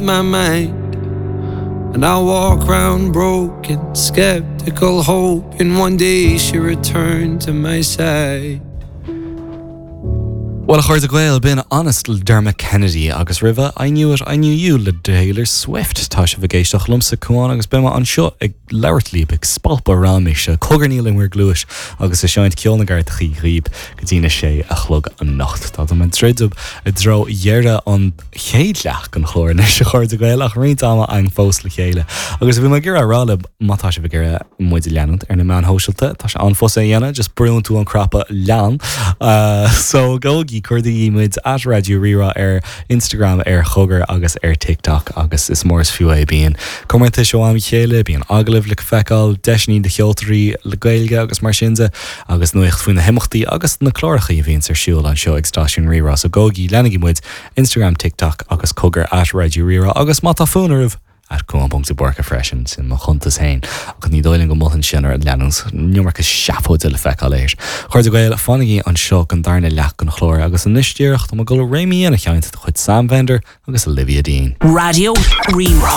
My mind And I walk round broken, skeptical Hoping one day she'll return to my side. Bhuel a chairde Gael, b'in Honest le Dermot Kennedy agus roimhe I Knew It, I Knew You le Taylor Swift. Tá sibh ag éisteacht liomsa, Cuán, agus beidh mé anseo ag labhairt libh, ag spalpadh raiméise, ag cogarnaíl in bhur gcluais agus ag seinnt ceol na gcairteachaí dhaoib go dtí na sé a chlog anocht. Tá mé ag druidim i dtreo dheireadh an. chéad leath den chlár anois, a chairde Gael, ach roinnt ama againn fós le chéile. Agus bhí mé ag iarraidh a rá libh, má tá sibh ag iarraidh muid a leanúint ar na meáin shóisialta, tá sé an-fhusa a dhéanamh, just brúann tú an cnaipe lean. So, gabhaigí, cuardaígí muid at Raidió Rí-Rá ar Instagram, ar Chogar agus ar TikTok agus is mór is fiú é. Bíonn comórtais ó am go chéile, bíonn agallaimh le feiceáil, deiseanna do cheoltóirí le Gaeilge agus mar sin de, agus nuacht faoi na himeachtaí agus na cláracha a bhíonns ar siúl anseo ag Stáisiún Rí-Rá. So gabhaigí, leanaigí muid Instagram, TikTok agus cogar at Raidió Rí-Rá agus má tá fonn oraibh, at Cuán ponc de Búrca freisin, sin mo chuntas féin ach ní dóigh liom go molfainn sin oraibh leanúint, an iomarca seafóide le feiceáil air. A chairde Gael, fanaigí anseo don darna leath den chlár agus anois díreach tá mé ag dul Rain Me In a sheinnt de chuid Sam Fender agus Olivia Dean. Raidió Rí-Rá.